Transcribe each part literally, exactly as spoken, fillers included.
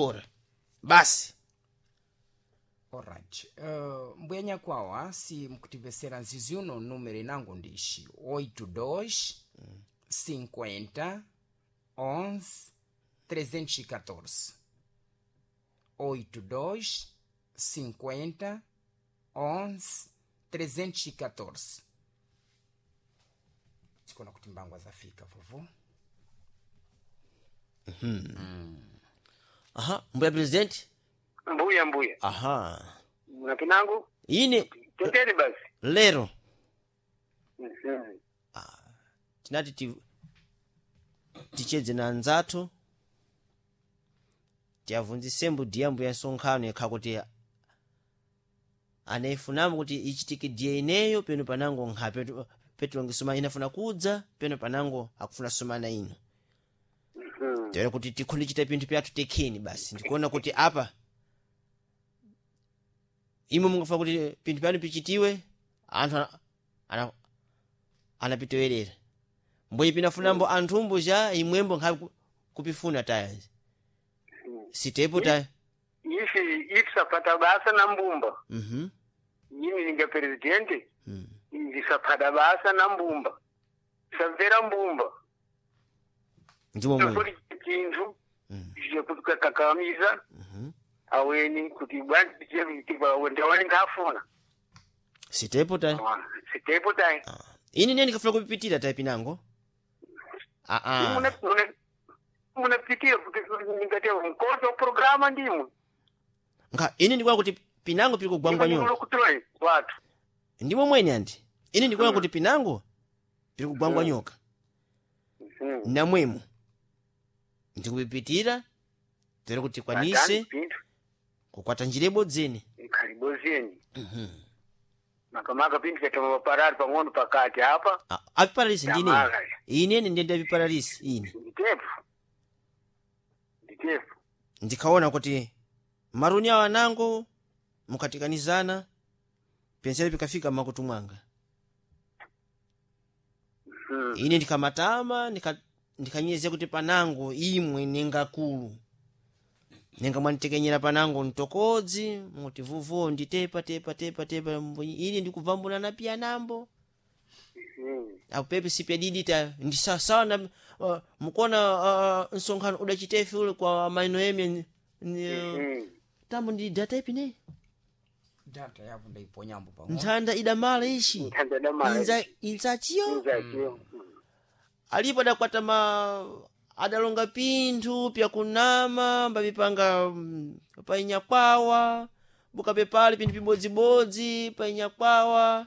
Ora basi. Alright. Uh, mbuya nyakwawa si mukutipesera nzizi uno numero inango ndishi oito dois cinquenta onze trezentos e catorze, oito dois cinquenta onze trezentos e catorze. Sikona kuti mbangwa zafika, vovo. Aha, mbuya president. Mbuya, mbuya. Aha. Muna pinangu. Ine. Tendeni basi. Lero Mhm. tinati ti, tichedze na anzathu, tiyavunzisembo diyambo ya nsonkhano yakha kuti anayifunamo kuti ichitike diya ineyo peno panango nkha petu- petulongesoma inafuna kudza peno panango akufuna somana ino. Mhm. Tera kuti tikhonde chita pinthu pyathu tekheni basi. Ndikuona kuti apa imwe mungafuna kuti pinthu pyanu pichitiwe, anthu ana- ana- anapitowerera mbwenye pinafunambo anthumbo cha imwembo nkhabe ku- kupifuna taya sitepo taya. Ifi ifi sapata basa na mbumba. Mhm. Yini ninga presidente. Mm. Ndisapata basa na mbumba. Samvera mbumba. Ndimo mwene. Tofori chinthu Mm. chekukakamiza Mhm. aweni kuti ndawani nkafuna. Sitepo taya. Sitepo tayi. Ah. Ine ndiye ndikafuna kupipitira taya pinango ah ah. Munapitira kuti ningati mkozo programa ndimwe. Nkha ine ndikuona kuti pinango pili kugwangwa nyoka. Kutroyi watu. Ndimo mwene andi ine ndikuona Mm. kuti pinango pili kugwangwa Mm. nyoka. Mhm. Namwemo ndikupipitira tere kuti tikwanise Pinthu kukwata njira ibodzeni. Khalibozeni. Makamaka pinthu chatamwaparari pang'ono pakati apa. Ah, apiparalisi ndine. Tamala. Inene ndiye ndapiparalisi ine. Nditepo. Nditepo. Ndikaona kuti maruni awo anango mukatikanizana pensere pikafika makutu mwanga. Mhm. Ine ndikamatama ndika- ndikanyeze kuti panango imwe nengakulu nenga mwanitekenyera panango mtokodzi muti vuvo nditepa tepa tepa tepa mbonyi- ine ndikubvambuna na piyanambo. Mhm. Apo pepe sipyadidita ndisasawa na uh, mukuona uh, msonkhano udachitefe ule kwa maino emi. Mhm. Tambo ndi data ipi ne? Data yapo ndaiponyambo pang'ono. Nthanda idamala ishi. Nthanda idamala. Inza inzachiyo. Inzachiyo. Alipo adakwata ma adalonga pinthu pyakunama mbapipanga mm, painyakwawa bukapepale pinthu pibodzibodzi painyakwawa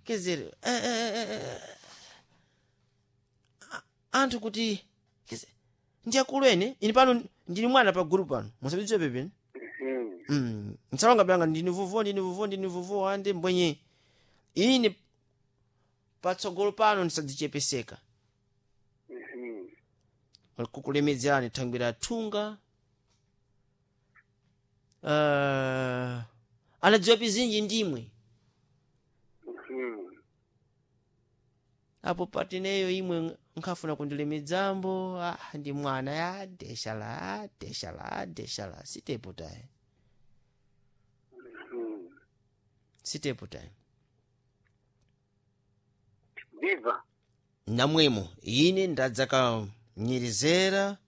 kezere eh, eh, eh, eh. A- anthu kuti keze ndi akulu ene ine pano ndini mwana pa group pano musabidziwe pepene. Mhm. mm. Nsalonga pyanga ndini vuvo ndini vuvo ndini vuvo ande mbwenye ine patsogolo pano ndisadzichepeseka. Mhm. Kukulemedzerani thangwi thunga uh, anadziwa pizinji ndimwe. Mhm. Apo patineyo imwe nkhafuna kundilemedzambo, ah, ndi mwana ya deshala deshala deshala sitepo tayi. Mhm. Sitepo tayi. Viva. Namwemo ine ndadzakanyerezera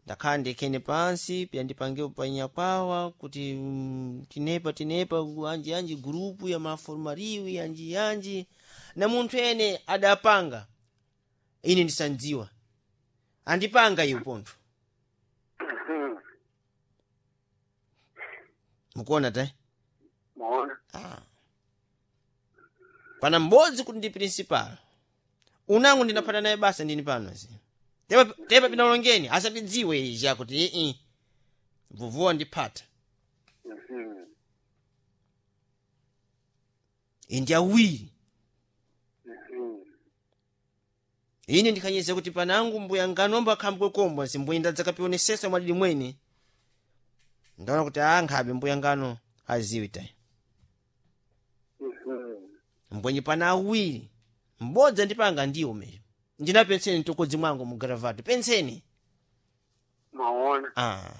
ndakhala ndikhene pansi pyandipange panyakwawa kuti mm, tinepa tinepa anji anji gurupu ya maformariwi anji anji na munthu ene adapanga ine ndisandziwa andipanga iwo pontho. Mhm. Mukuona ta? Maona. Ah. Pana m'bodzi kuti ndi principal unango ndinaphata naye basa ndini pano zi tepa tepa pinalongeni asapidziwe ija kuti ii vuvuwa ndiphata. Mhm. Indi awiri. Mhm. Ine ndikhanyeza kuti panangu mbuya nganomba akhambwe kombwa zimbuye ndadzakapionesesa mwadidi mwene ndaona kuti a nkhabe mbuya ngano aziwi tayi. Mhm. Mbwenye pana awiri m'bodzi andipanga ndiwo meyo ndina penseni mtokodzi mwangu mu gravati penseni. Maona. Ah.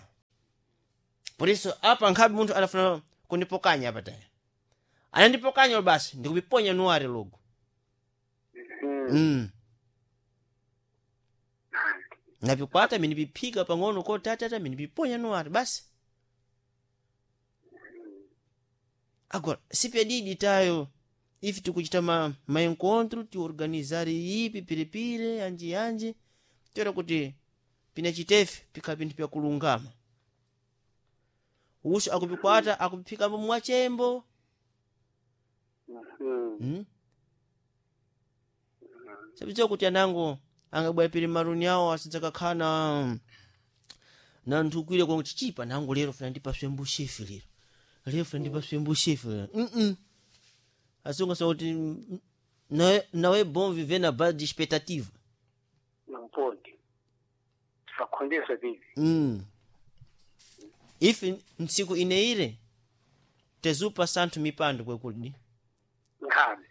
Por isso apa nkhabe munthu anafuna kundipokanya apa taya anandipokanya basi ndikupiponya nuware logo. Mhm. Mm. Nandi. Napikwata minipiphika pang'ono kotatata minipiponya nuware basi. Agora sipyadidi tayo ife tikuchita ma, maencontro tiorganizare ipi piripiri anji anji toera kuti pinachitefe pikhala pinthu pyakulungama uso akupikwata akupiphikapo mwachembo. Mhm. Hmm? Sabidziwa kuti anango angabwera piri maruni awo asidzakakhala na na nthukwire kwa kuti chipa nango lero funa ndipaswe mbushefi lero lero funa ndipaswe mbushefi lero mm -mm. Asunga sa kuti mm, não é, não é bom viver na base de expectativa. Não pode. Tisakhondesa vivi. Mm. Ife ntsiku ineire tezupa santhu mipando kwekulidi. Nkhabe.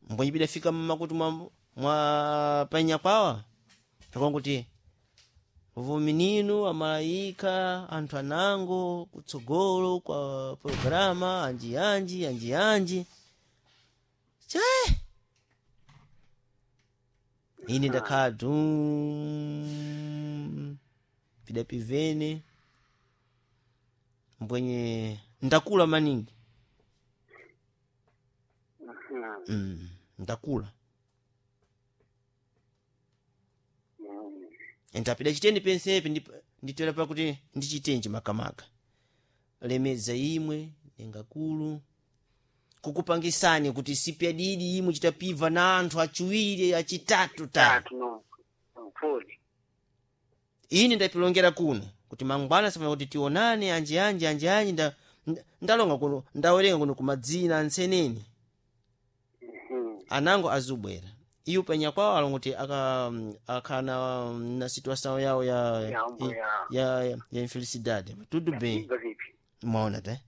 Mbwenye bidafika mmakutu mwa, mwa panyakwawa pakonkuti vumininu amalayika anthu anango kutsogolo kwa programa anji anji anji anji che ine ndakhala dum pidapivene mbwenye ndakula maningi. Mhm. Mm, ndakula. Mhm. Ndapida chitende pensepe ndip- nditoera pakuti ndichitenji makamaka lemedza imwe nengakulu kukupangisani kuti sipyadidi imwe chitapiva na anthu achiwiri achitatu ta. Tatu no. Não pode. Ine ndapilongera kuno kuti mangwana safuna kuti tionane anji anji anji anji nda, nda- ndalonga kuno ndawerenga kuno kumadzina antseneni. Mhm. Anango azubwera iyo penya kwawo alonga kuti aka akhala na, na situação yawo ya Yambo ya. ya, ya, ya infelicidade tudo bem. Viva vipi. Mwaona te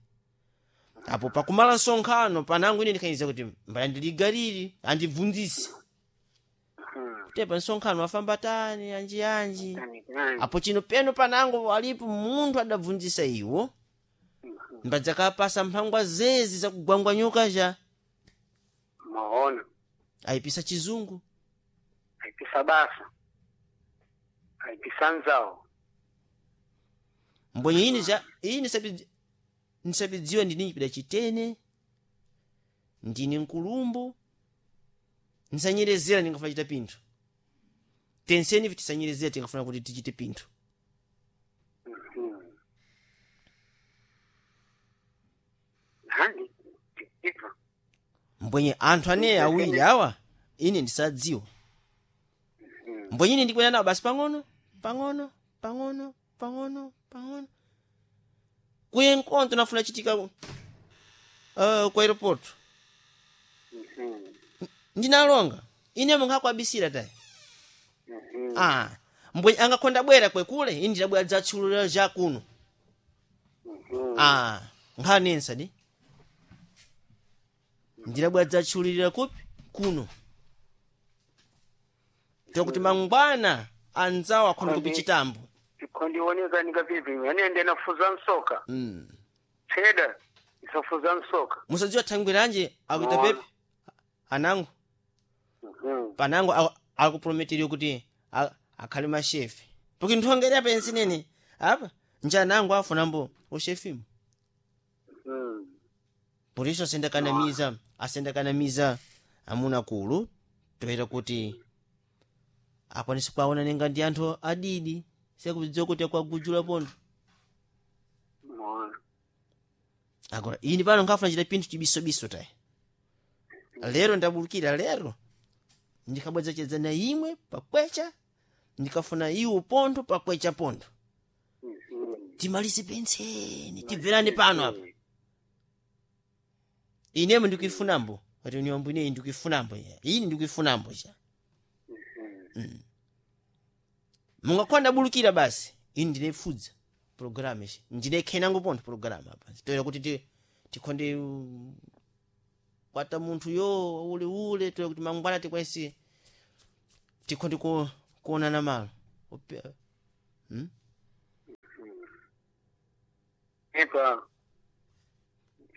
apo pakumala nsonkhano panango ine ndikhaniza kuti mbaya ndiligaliri andibvunzise. Mhm. Te pa nsonkhano afamba tani anji anji. Tani tani. Apo chino peno panango alipo munthu adabvunzisa iwo mbadzakapasa mphangwa zezi zakugwangwanyuka ja. Maona. Ayipisa chizungu. Aipisa basa. Aipisa nzao. Mbwenye ine ja ine sabi nisabidziwa ndini chipida chitene ndini nkulumbu nsanyerezera ndingafuna chita pinthu tenseni tisanyerezera tingafuna kuti tichite pinthu. Mhm. Nandi. Iva. Mbwenye anthu aneyi awiri awa ine ndisadziwa mbwenye ine ndikwena nawo basi pang'ono pang'ono pang'ono pang'ono pang'ono kuye nkonto nafuna chitika uh, ku aeroporto. Mhm. Ndinalonga ine mungakwabisira tayi. Mhm. Ah, mbwenye angakhonda bwera kwekule ine ndidabwera dzatchulula ja kuno. Mhm. Ah, nkhanensa di ndidabwera dzatchululira kupi kuno tokuti mangwana anzawo akhonda kupi chitambo. Ikhondioneka nikavivi. Anende nafuza nsoka. Mm. Teda. Isafuza nsoka. Musadziwa thangwiranje akuita Mwaona. pepe anango. Mhm. Panango akuprometeriwa kuti a- akhale mashefe porque nthongera pensi nene apa nje anango afunambo ushefimo. Mhm. Por isso asendakanamiza asendakanamiza amuna kulu toera kuti akwanise kuwaona nenga ndi anthu adidi sekudziwa kuti akwagujula pontho. Maona. Agora ini pano nkafuna chita pinthu chibisobiso tayi lero ndabulukira lero ndikabweza chedza na imwe pakwecha ndikafuna iwo pontho pakwecha pontho. Mhm. Timalise penseni tibverane pano apa inemo ndikuifunambo ati niwambo ineyi ndikuifunambo ya ini ndikuifunambo cha. Mhm. Mungakhonda bulukira basi ini ndinefudza programu ichi ndinekhenango pontho programu apa toera kuti ti- tikhonde um, kwata munthu yo ule ule toera kuti mangwana tikwanise tikhonde ku- kuonana malo Ope- hmm? Epa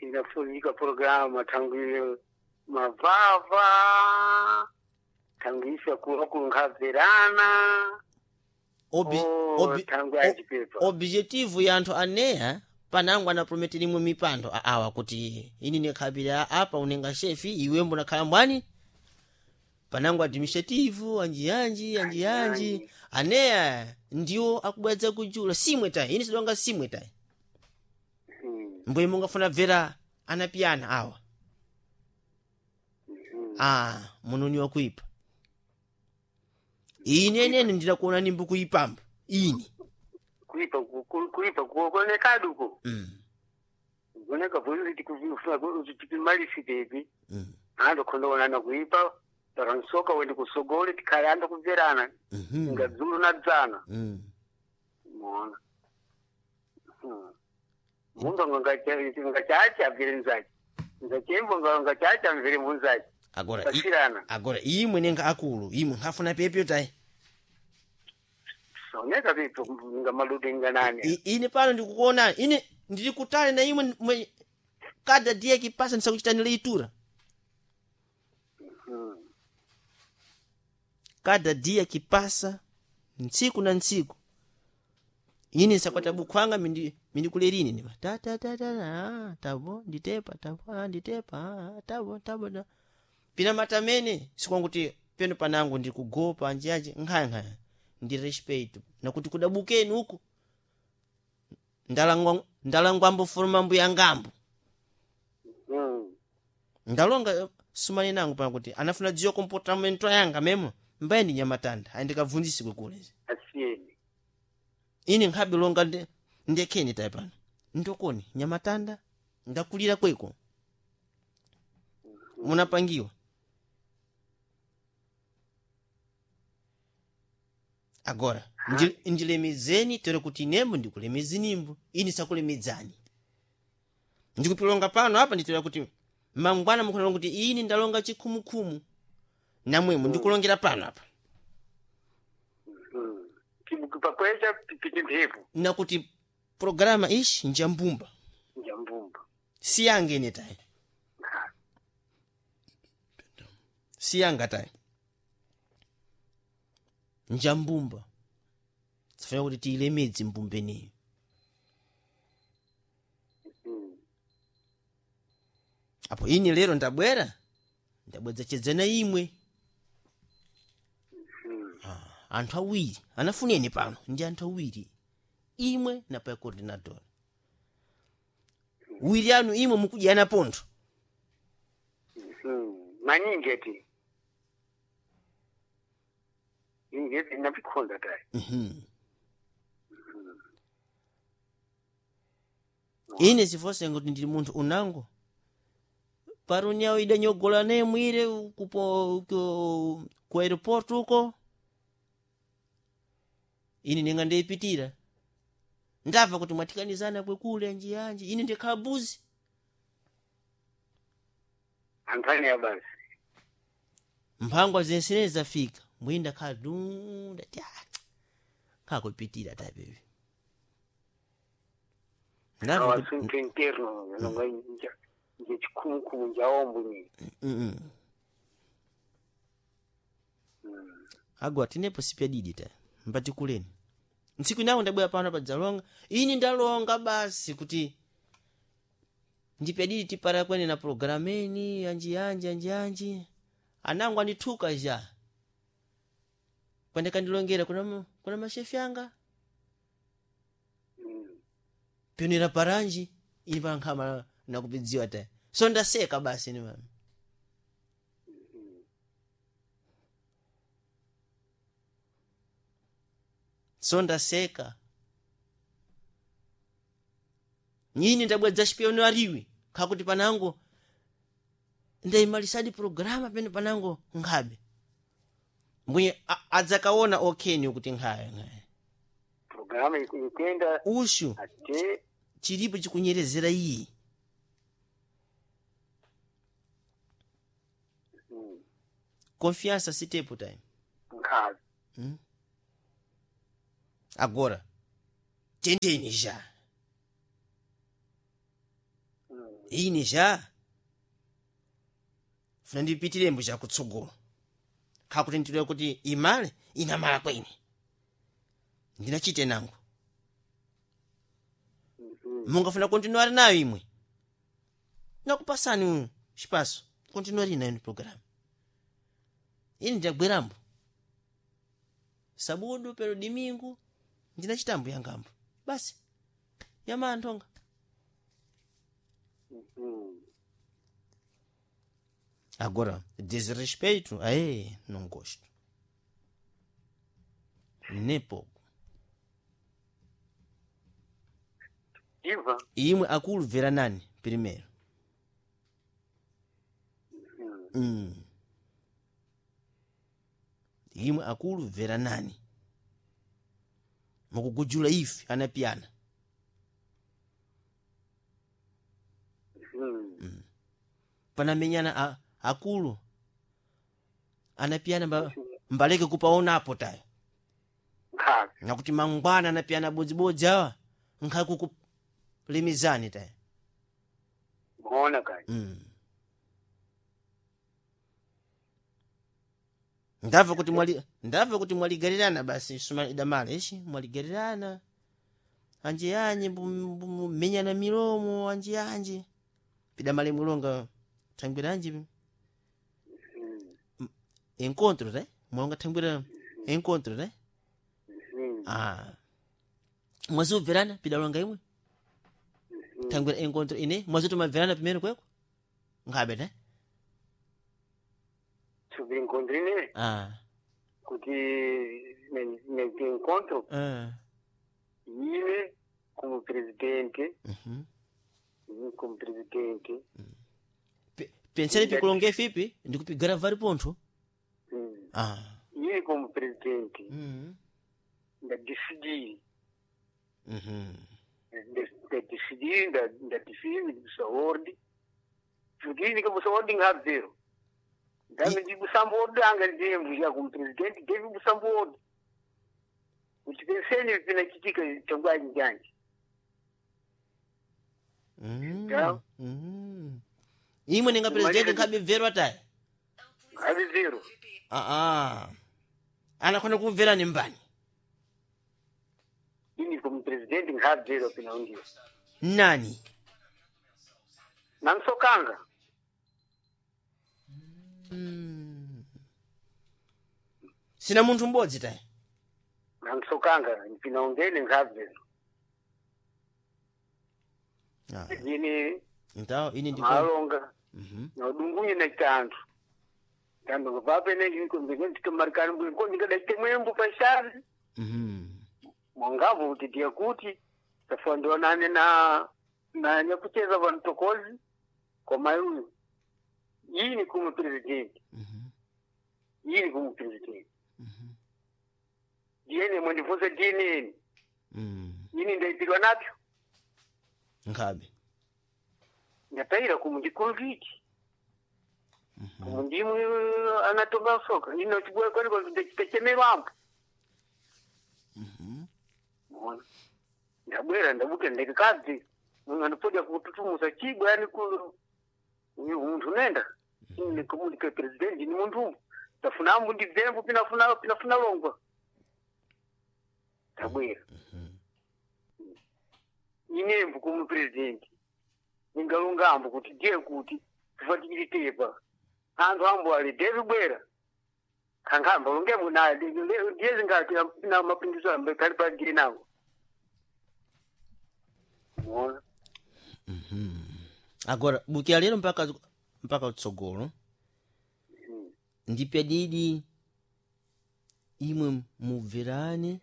inafuzika programa tangu mavava tangu isa kunkhaverana. Obi, Oh, obi, tangu achipepa. Objetivo ya anthu aneya panango anaprometera imwe mipando aawa kuti ini nikhabira apa unenga shefi iwe mbonakhala mbwani panango administrative anjiyanji anjiyanji aneya ndiwo akubwedza kujula simwe tayi ini sidonga simwe tayi. Mm, Mbuye mungafuna bvera anapiyana awa. mm. Ah, munoni wakuipa ine nene ndidakuona nimbu kuipamba ini. Kuipa ku- ku- kuipa kuonekaduko mm. kuoneka bwizitikumalisitepi Mm. ando khondoonana kuipa paransoka wendi kusogole tikhale ando kubverana Mm-hmm. nga dzulu na dzana. Mm. Mona mumba ngachacha abvere nzachi nzachembo ngachacha amvere munzachi. Agora i- pasirana. Agora imwe nenga akulu imwe nkhafuna pepyo tayi. Soneka pipo nga malude nganani. I- ine pano ndikukuonani ine ndili kutali na imwe mwe kada dia kipasa ndisakuchitani leitura. Mm. Kada dia kipasa ntsiku na ntsiku ine nsakwata bukhwanga mindi mindikulerini nipa ta ta ta ta ah, tabo nditepa tabo ah, nditepa ah, tabo tabo ta. Pina matamene sikwanguti peno panango ndikugopa anjianji nkhayankhaya ndi respect nakuti kudabukeni uku ndalangwa ndalangwambo forma mbuya ngambo. Mm. Ndalonga eh, sumani nangu pano kuti anafuna dziwa comportamento yanga memo mbaye ndi nyamatanda ayindikabvunzisi kule. Asiyeni. Ine nkhabe longa nde- ndekheni tayi pano ndokoni nyamatanda ndakulira kweko munapangiwa agora ndi- ndilemezeni tere kuti inembo ndikulemezinimbo ini sakulemedzani ndikupilonga pano apa nditera kuti mangwana mukhonalonga kuti ini ndalonga chikhumukhumu namwemo ndikulongera pano apa. Mm. Pakweza piti mphepo. Nakuti programa ishi njambumba. Njambumba. Siyange ine tayi siyanga tayi njambumba sifanira kuti tiyilemedze mbumbeneyo. Mm. Apo ine lero ndabwera ndabwedza chedzana imwe. Mm. Ah, anthu awiri anafuneni pano ndi anthu awiri imwe na pa coordinator wiri anu imwe mukudyana pontho. Mm. Maningi ati ingeti napikhonda tayi. Mhm. Ine sifonse kuti ndili munthu unango parunyawo idanyogola naye mwire kupo ku, ku aeroport uko ine ninga ndiyipitira ndamva kuti mwathikanizana kwekule anjiyanji ine ndikhala buzi. Anthu ane abasi. Mphangwa zensenezi zafika mwini ndakhala dunda ti nkhakuipitira tapepi ndamva kuti Awasunto interno nonga nja nje chikhumukhumu njaombo ni. Mm-mm. Agwa tinepo sipyadidi ta mpatikuleni ntsiku inawo ndabwera pano padzalonga ini ndalonga basi kuti ndipyadidi tipara kwene na programeni yanji yanji yanji yanji anango andithuka ja kwandikandilongera kuna, ma- kuna mashefi anga. Mm. Pionera paranji ini pankhama nakupidziwa ta so ndaseka basi ni mami. So ndaseka nyini ndabwedza chipiono ariwi khakuti panango ndayimalisadi programa pene panango nkhabe mbwenye a- adzakaona okheni kuti nkhaya nkhaya. Programa ikwenda. Ushu Ate chilipo chikunyerezera iyi. Mm. Confiança sitepo time. Nkhazi. Agora tendeni já. Ine ja funa ndipitirembo chakutsogolo khakuti nditule kuti imale inamala kwene ndinachite nango mungafuna kontinuare nayo imwe nakupasani xipaso kontinuari nayo ni programu ini ndagwerambo sabudu pero dimingu ndinachitambo yangambo basi yamanthonga agora desrespeito aê não gosto nem pouco Iva imwe akulu vera nani primeiro mm. Imwe akulu vera nani mukugujula ife anapiyana mm. panamenyana a, akulu anapiyana mba, mbaleke kupaonapo tayo Nkhabe nakuti mangwana anapiyana bodzibodzi awa nkhakukulemezani tayo muona kani mm. Ndamva kuti mwali ndamva kuti mwaligarirana basi suma idamala ishi mwaligarirana anje anje menyana milomo anje anje pidamale mulonga thangwira anje Mm. encontro re mwalonga thangwira encontro re Mm. ah mwazobverana pidalonga imwe thangwira encontro ine mwazotomabverana pimene kweko nkhabe ne Sobre encontrine ah kuti ne- ne encontro ah ine como presidente mhm ine como presidente Pe- pensene pikulonge fipi ndikupigara vari pontho mm. ah Ine como presidente mhm ndadecidi mhm ndadecidi ndadecidi ndikusa orde kuti ndikabusa orde ngabvero ndame ndibusamba orde anga ndiyembuya como presidente deve busamba orde kuti pensene pinachitika changwaji njanje mhm Ya. mhm imwe ninga presidente nkhabe bverwa taya ngabe zero ah ah anakhona kumverani mbani ini como presidente ngabvero pinaundiwa nani nansokanga mm. Sina munthu m'bodzi taya nansokanga pinaungene ngabvero ah. ini Então ine ndiko malonga mhm naudungunye na chanthu tando papene ndikamarikani ndikadaite mwembo pashavi mhm mwangavu kuti ndiye kuti tafandionane na na nyakucheza vantokozi kwa uyu yini kumu president mhm yini kumu president mhm diyene mwendifunse dineni mhm yini ndaitirwa napyo nkhabe ndataira kumu ndikonviti kumu ndimwe anatonga soka ino chibwe kwani ndachitechemerwambo mhm Mona. Ndabwera ndabuka ndikadzi anopodya kututumusa chibwe yani ku uyu munthu nenda ine komunike president ni munthu ndafuna ambu ndibvembo pinafuna pinafuna longwa ndabwera inembo kumu president ningalonga ambo kuti ndiye kuti tifatikiritepa anthu ambo ali devi bwera kankhamba longembo naye ndiye zingati na mapinduzo ambo kali pa ndiye nawo Mona. Agora bukira lero mpaka mpaka utsogolo ndipya didi imwe mubverane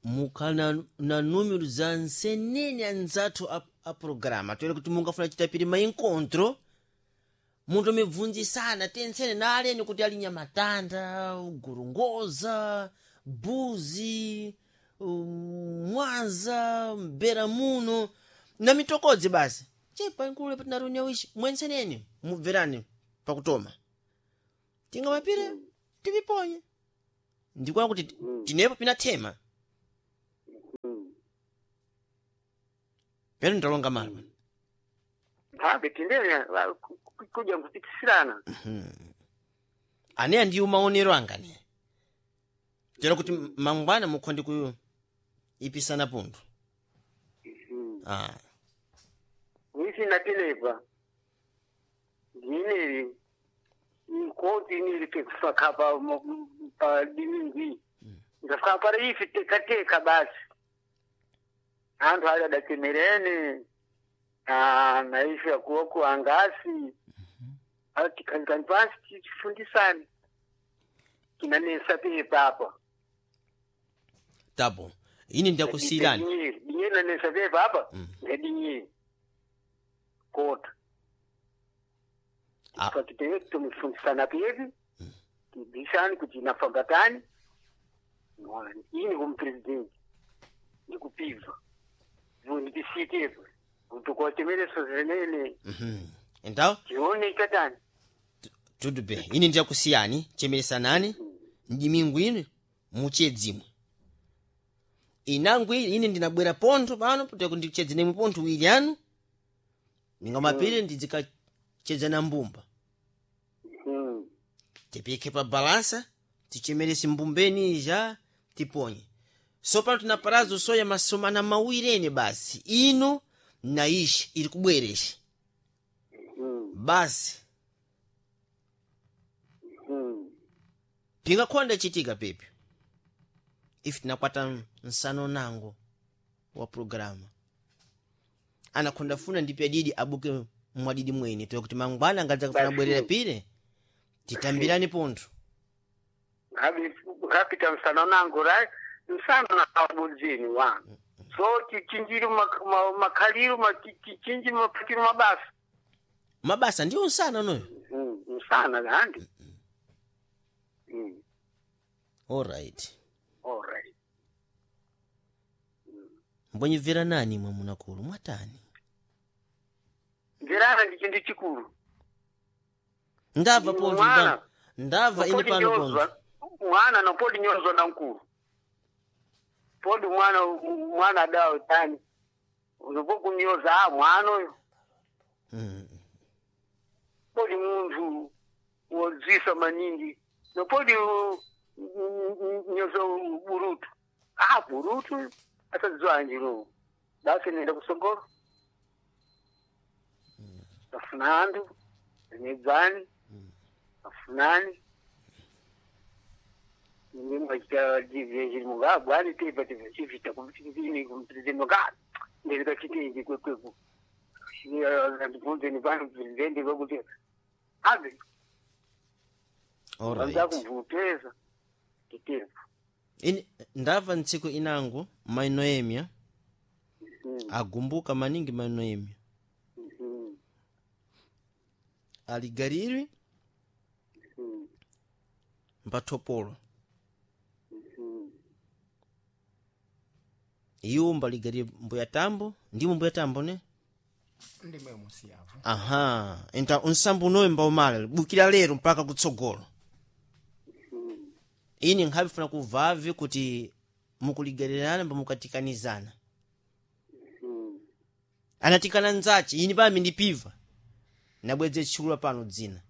mukhala na, na número za nsenene anzathu a, a programa toere kuti mungafuna chitapiri maincontro munthu mibvunzisana tensene na aleni kuti ali nyamatanda gorongoza buzi um, mwanza mbera muno na mitokodzi basi chepa nkulu patinaruniya wishi mwenseneni mubverane pakutoma tingamapire tiviponye ndikuona kuti tinepo pinathema Mm. pero ndalonga malo pano Habe tindenya kuja nkupitisirana. Aneya ndiyo maonero anga ne tera kuti mangwana mukhonde ku ipisana pundu. Mm. Ah. Nisi natinepa ndineri ikoti iniri pekufaka pa pa diningi ndafika para ifi tekateka basi anthu ali adachemerene na na ifi akuoku angasi atikhalikani pansi tifundisane kinanesa pepa apa. Tapo ini ndiyakusiyirani. Dinyeri dinyeri nanesa pepa apa Mm. ngedinyeri kota. Ah. Patitewe tumifundisana pepi tibisani kuti inafamba tani ini kumupresidenti ndikupiva ndisitepo kutukochemereso zenene. Mhm. Então tione chatani. tudo bem, ini ndiyakusiyani chemeresanani mdimingu ino muchedzimwe inangu ili ine ndinabwera pontho pano kuti ndichedze nemwe pontho wili anu ningamapire ndizikachedza na mbumba. Mm. Tipike pa balansa tichemerese mbumbeni ija tiponye so pano tina prazo soya masomana mawiri ene basi ino na ishi iri kubwera ishi. Mm. Basi. Mm. Pingakhonda chitika pepi ife tinakwata nsano nango wa programa anakhonda funa ndipe adidi abuke mwadidi mwene toya kuti mangwana angadza kufuna Basi. bwerera pire titambirani pontho. Ngabe ngapita msana nangu ra msana nabudzini wanu so tichinjiri makhaliro tichinji maphatiro mabasa. Mabasa ndiwo nsana unoyo. Mm, msana handi. Mm. Alright. All right. Mbonyibvera nani mwe munakulu mwatani? Mverana ndi chinthu chikulu. Ndabva pontho Mwana. pano ndabva ine Nopodi pano nyozwa pontho. mwana nopodi nyozwa na mkulu podi mwana mwana adawo tani unopokunyoza a mwana uyo. Mm. Podi munthu wodzisa maningi nopodi nyoza burutu a burutu asadziwa basi nenda kusogolo afuna anthu zinedzani afunani nimwachita divhezhiri bwani tepa tivhita kumpresidenti ndikachitindi kwekweku ndibvunzeni pano presidenti kwekuti ave Alright. vanza kumvuteza titepo. Ine ndabva ntsiku inango mai Noemia agumbuka maningi mai Noemia aligarirwi mbathopolo iwo mbaligarire mbuya tambo ndimo mbuya tambo ne. Ndimwe musiyavo. Aha, enta unsambo unoyo mbaumala bukira lero mpaka kutsogolo ini nkhavifuna kuvavi kuti mukuligarirana mbamukatikanizana anatikana nzachi ini pami ndipiva nabwedze tchulula pano dzina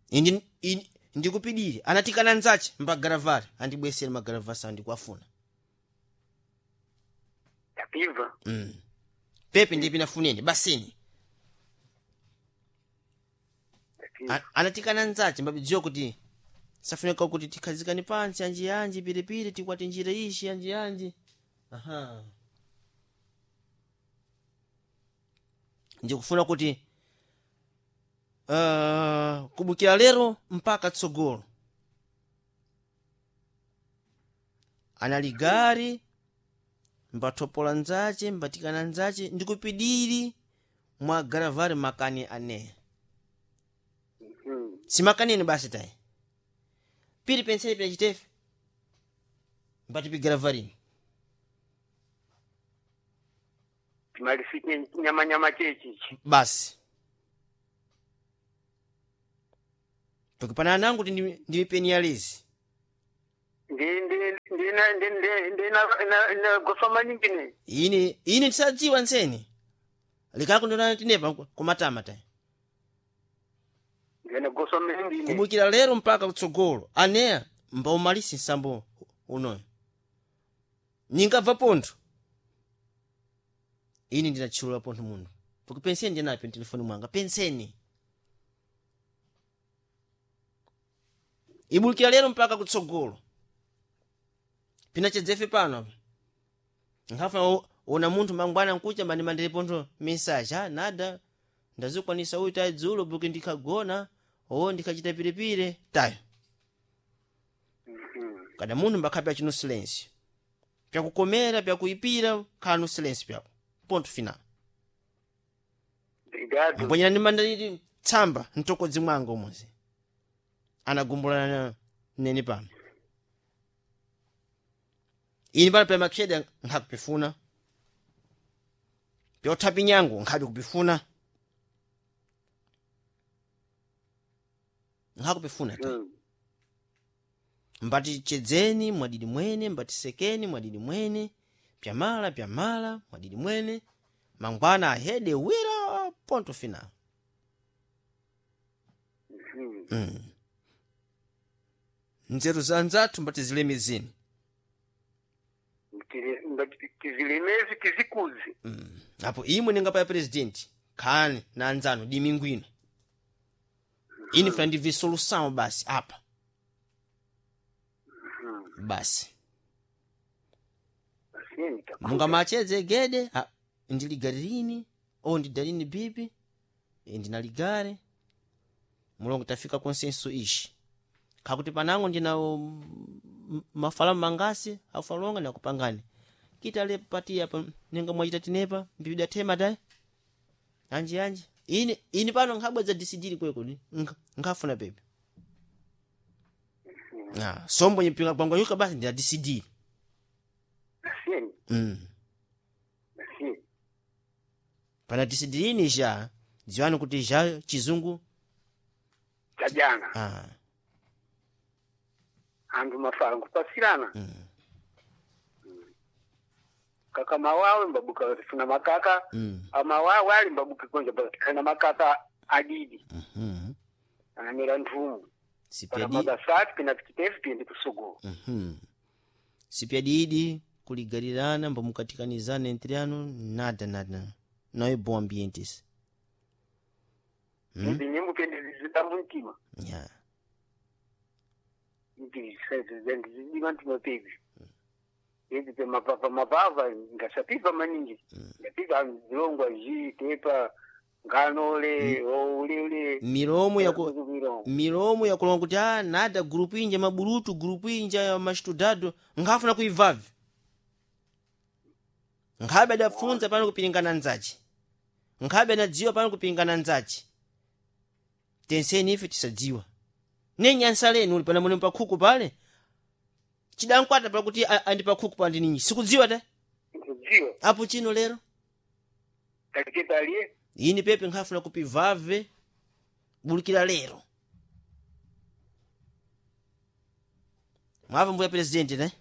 indi ini- ndikupidire anatikana nzachi mbagaravari andibwesere magaravasi andikuafuna. Tapibva. Mm. Pepe ndipi nafuneni basini. A- anatikana nzachi mbabidziwa kuti safunika kuti tikhazikane pansi anji anji piripiri tikwati njira ishi anji anji aha ndikufuna kuti uh, kubukira lero mpaka tsogolo analigari mbathopola nzache mbatikana nzache ndikupidiri mwa garavari makani ane simakanini basi tayi piri penseli pira chitefe mbatipi garavarini. Timalisike nyamanyama chechichi. Basi tukipana nangu kuti ndimipeni yalezi. Ndi ndi ndi Ndena maningi ne. Ine ine ndisadziwa nseni likakundona tinepa kumatama ta. Ndena gosa maningi ne. Kubukira lero mpaka kutsogolo aneya mbaumalisi nsambo unoyo ningabva pontho ine ndinatchulula pontho munthu porque penseni ndinapo telefoni mwanga penseni ibulukira lero mpaka kutsogolo pinachedzefe pano apa nkhafa ona munthu mangwana nkucha mani mandire pontho message ah nada ndazikwanisa uyu tayi dzulo porque ndikhagona o ndikhachita piripire tayo. Kada munthu mbakhape achino silêncio pyakukomera pyakuipira khala no silêncio pyako ponto final. Obrigado. Mbwenyera ndimandaliti tsamba mtokodzi mwanga umozi anagumbulana nene pano ini pano pya makheda nkhakupifuna pyothapi nyangu nkhabe kupifuna nkhakupifuna ta. Mm. Mbati chedzeni mwadidi mwene mbati sekeni mwadidi mwene pyamala pyamala mwadidi mwene mangwana ahede wira ponto final. Mm. Mm. Nzeru za nzathu mbati zilemezeni. Tizilemezi tizikuze. Mm. Apo imwe ninga pa president khani na anzanu dimingwino ini funa ndibve solução basi apa basi. Assim, tá. Mungamachedze gede ah, ndiligarini o ndidalini bibi eh, ndinaligare mulongo tafika consenso ishi kakuti panango ndina um, mafalamu mangasi afalonga nakupangani kitale pati apa ninga mwachita tinepa mbibida tema dai anji anji ini ini pano nkhabweza disidiri kweko ni Nkha- nkhafuna pepe ah sombo nyipinga kwangwanyuka basi ndina disidiri. Assim, mm. assim. Pana disidirini ja dziwani kuti ja chizungu. Tajana. Ah. Andu mafala nkupasirana. mm. Kaka mawawe mbabuka funa makaka. Mm. Amawawe ali mbabuka konja kana makaka adidi. Mm-hmm. Anamira nthumu. Pana Sipyadi magasati pina tikitefi pindi kusugu. mm-hmm. Sipyadidi kuligalirana mbamukatikanizana entre anu nada nada não é bom ambiente esse. Mm? Izi nyimbo pindi zitambu mtima. Yeah. Ndizidima mtima pepi. Izi pe mapapa mapava ngasapipa maningi. Ngapipa zilongwa ji tepa nganole oulele. Milomo yaku Milomo. milomo yakulonga kuti ah nada grupu inja maburutu grupu inja ya mastudado nkhafuna kuivavi nkhabe adafunza pano kupilingana nzachi nkhabe anadziwa pano kupilingana nzachi tenseni ife tisadziwa nenyansa lenu uli pana mune pakhuku pale chidankwata pakuti a- andi pakhuku pandi ninyi sikudziwa ta. Nkudziwa. Apo chino lero Takitepa aliye. ini pepe nkhafuna kupivave bulukira lero mwava mbuya presidenti ne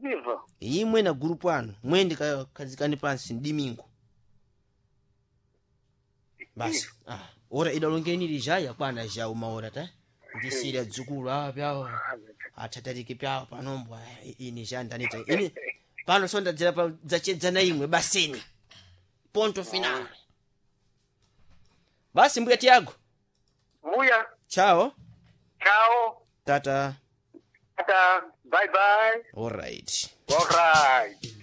Viva. imwe na gurupu anu mwende ka- khazikani pansi mdimingo basi ah, ora idalongeni lija yakwana ja umaora ta ndisira dzukulu ah pyawo athatariki pyawo panombwa ini ja ndanita ini pano sondadzera pa dzachedzana imwe basini ponto final basi mbuya Tiago. Mbuya. Chao. Chao. Tata. Tata. Bye bye. All right. All right.